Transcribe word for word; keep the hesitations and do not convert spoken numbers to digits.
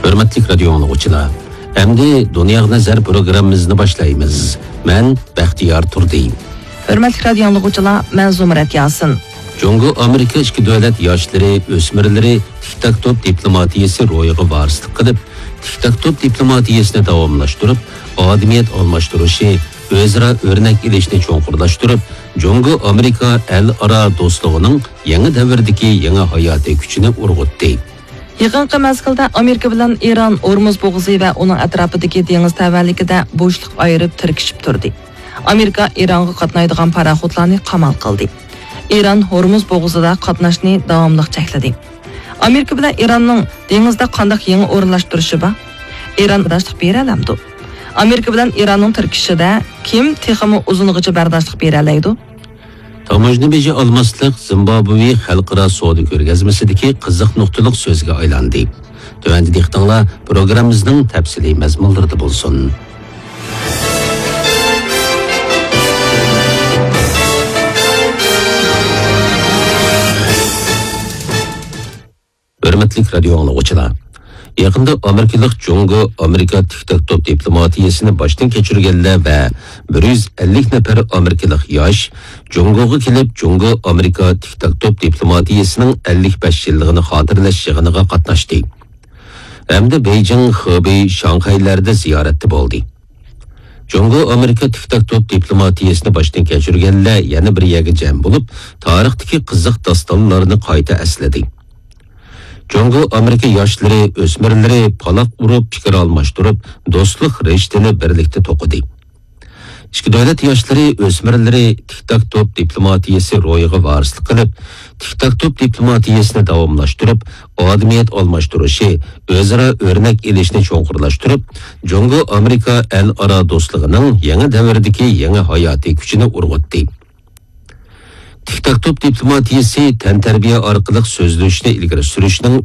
ھۆرمەتلىك رادىيو ئاڭلىغۇچىلار، ئەمدى دۇنياغا نەزەر پروگراممىمىزنى باشلايمىز. مەن بەختىيار تۇردى. ھۆرمەتلىك رادىيو ئاڭلىغۇچىلار، مەن زۇمرەت ياسىن. جۇڭگو ئامېرىكا ئىككى دۆلەت ياشلىرى، ئۆسمۈرلىرى تىك تاك توپ دىپلوماتىيىسى روھىغا ۋارىسلىق قىلىپ، تىك تاك توپ دىپلوماتىيىسىنى داۋاملاشتۇرۇپ، ئادىمىيەت ئالماشتۇرۇشى، ئۆزئارا ئۆرنەك ئېلىشنى چوڭقۇرلاشتۇرۇپ، جۇڭگو ئامېرىكا ئەل ئارا دوستلۇقىنىڭ يېڭى دەۋردىكى يېڭى ھاياتىي كۈچىنى ئۇرغۇتتى. يېقىنقى مەزگىلدە ئامېرىكا بىلەن ئىران ھورمۇز بوغۇزى ۋە ئۇنىڭ ئەتراپىدىكى دېڭىز تەۋەلىكىدە بوشلۇق ئايرىپ تىركىشىپ تۇردى. ئامېرىكا ئىرانغا قاتنايدىغان پاراخوتلارنى قامال قىلدى. ئىران ھورمۇز بوغۇزىدا قاتناشنى داۋاملىق چەكلىدى. ئامېرىكا بىلەن ئىراننىڭ دېڭىزدا قانداق يېڭى ئورۇنلاشتۇرۇشى بار؟ ئىران بەرداشلىق بېرەلەمدۇ؟ ئامېرىكا بىلەن ئىراننىڭ تىركىشىشىدە كىم تېخىمۇ ئۇزۇنغىچە بەرداشلىق بېرەلەيدۇ؟ تاموژنا بېجى ئالماسلىق زىمبابۋې خەلقئارا سودا كۆرگەزمىسىدىكى قىزىق نۇقتىلىق سۆزگە ئايلاندى. تۆۋەندە دىققىتىڭلار پروگراممىمىزنىڭ تەپسىلىي مەزمۇنلىرىدا بولسۇن. ھۆرمەتلىك رادىيو ئاڭلىغۇچىلار! يېقىندا ئامېرىكىلىق جۇڭگو ئامېرىكا تىك تاك توپ دىپلوماتىيىسىنى باشتىن كەچۈرگەنلەر ۋە بىر يۈز ئەللىك نەپەر ئامېرىكىلىق ياش جۇڭگوغا كېلىپ، جۇڭگو ئامېرىكا تىك تاك توپ دىپلوماتىيىسىنىڭ ئەللىك بەش يىللىقىنى خاتىرىلەش يىغىنىغا قاتناشتى ھەمدە بېيجىڭ، خېبېي، شاڭخەيلەردە زىيارەتتە بولدى. جۇڭگو ئامېرىكا تىك تاك توپ دىپلوماتىيىسىنى باشتىن كەچۈرگەنلەر يەنە بىر يەرگە جەم بولۇپ، تارىختىكى قىزىق داستانلارنى قايتا ئەسلىدى. جۇڭگو ئامېرىكا ياشلىرى، ئۆسمۈرلىرى پالاق ئۇرۇپ، پىكىر ئالماشتۇرۇپ، دوستلۇق رىشتىنى بىرلىكتە توقۇدى. ئىككى دۆلەت ياشلىرى، ئۆسمۈرلىرى تىك تاك توپ دىپلوماتىيىسى روھىغا ۋارىسلىق قىلىپ، تىك تاك توپ دىپلوماتىيىسىنى داۋاملاشتۇرۇپ، ئادىمىيەت ئالماشتۇرۇشى، ئۆزئارا ئۆرنەك ئېلىشنى چوڭقۇرلاشتۇرۇپ، جۇڭگو ئامېرىكا ئەل ئارا دوستلۇقىنىڭ يېڭى دەۋرىدىكى يېڭى ھاياتىي كۈچىنى ئۇرغۇتتى. تىك تاك توپ دىپلوماتىيىسى تەنتەربىيە ئارقىلىق سۆزلىشىشنى ئىلگىرى سۈرۈشنىڭ